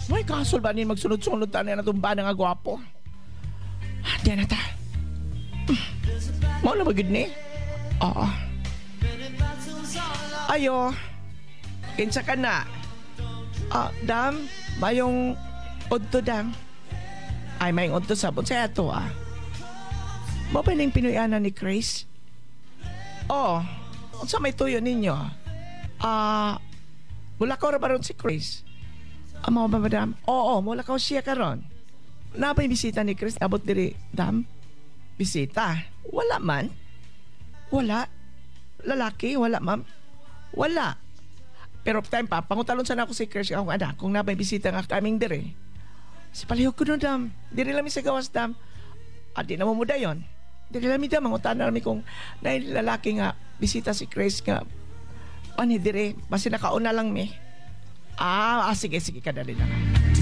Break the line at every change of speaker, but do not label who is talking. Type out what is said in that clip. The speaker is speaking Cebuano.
May kasol ba ni magsunod-sunod ta na natong bana nga gwapo? Ah, di na ta. Mao na ba gud ni? Oo. Ayo. Kinsa ka na? Ah, dam, mayong udto, dam. Ay, mayong udto sa sa ato ah. Mao ba ning Pinoy-ana ni Chris? Oh, unsa may tuyo ninyo? Ah, mulakaw ra ba ron si Chris? Ah, mao ba, madam? Oo, mulakaw siya karon. Naa bay bisita ni Chris abot diri, dam? Bisita? Wala man. Wala. Lalaki? Wala, ma'am. Wala. Pero time pa, pangutalon sana ako si Chris akong anak kung naa bay bisita nga kaming diri. Si palihog ko no, dam. Diri lang mi sa gawas, dam. Ah, di na mo dayon. Diri lang mi, dam. Mangutan na mi kung naay lalaki nga bisita si Chris nga ani dire. Basta nakauna lang mi. Ah, sige, sige, kadali lang.